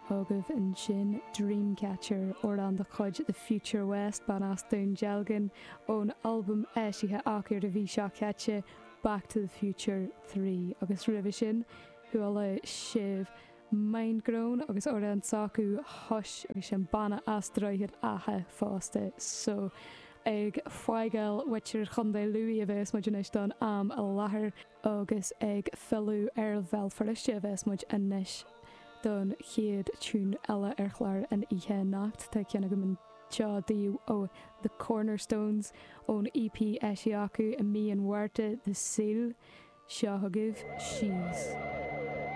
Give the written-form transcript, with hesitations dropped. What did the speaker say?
Agaibh ansin Dreamcatcher, amhrán de chuid The Future West, banna as Dún Dealgan, ón albam eisithe acu ar an mhí seo caite, Back to the Future 3. Agus roimhe sin, chuala sibh Mindgrown agus amhrán s'acu Hush agus sin banna as Droichead Átha fosta. So, ag fágáil mhuintir Chontae Lú a bheas muid anois don am i láthair. Agus ag filleadh ar Bhéal Feirste a bheas muid anois don chéad tiún eile ar chlár an oíche anocht. Tá ceann agam anseo daoibh ó The Cornerstones ón EP eisithe acu i mí an Mhárta, The Seal. Seo chugaibh She's.